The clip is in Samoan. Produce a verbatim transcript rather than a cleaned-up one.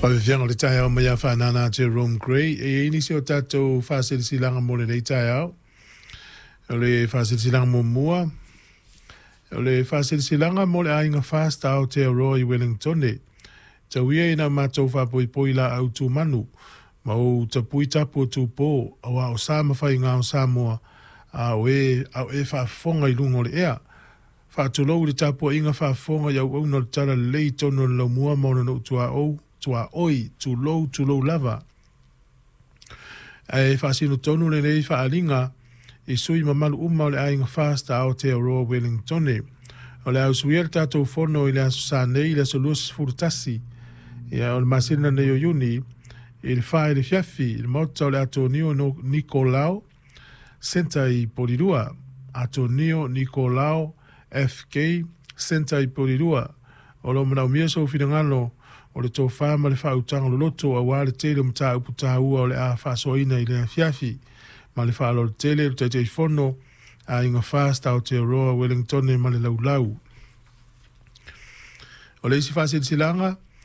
Faafiafiaga o le taeao mai ia Faanana Jerome Gray. E i ai nisi o tatou faasilasilaga mo lenei taeao. O le faasilasilaga muamua, o le faasilasilaga mo le aiga Fast Aotearoa i Wellingtone. Tau ia ina matou faapoipoi laau tumanu ma ou tapui tapu o tupō, auā o sa ma faiga o Samoa, a o e, a o e faafofoga i luga o le ea. Faatulou i le tapuaiga faafofoga i auauna o le Talalelei i totonu o le laumua ma ona nuu tuaou, tuaoi, tulou, tulou lava. Ae faasino tonu lenei faaaliga i sui usufono mamalu uma o le aiga Fast a Aotearoa Wellingtone. O le a usuia le tatou fono i le Aso Sa nei, le aso luasefulu tasi ia, o le masina nei o Iuni i le fa i le fiafi i le maota o le Atonio Nikolao Centre i Polilua. Atonio Nikolao F K Centre i Polilua. O lo o manaomia sou finagalo o le tofa ma le faautaga loloto aua le tele o mataupu taua o le a faasoaina i le afiafi. Ma le faaaloalo tele le Taitaifono Aiga Fast Aotearoa Wellingtone ma le Laulau. O le isi faasilasilaga,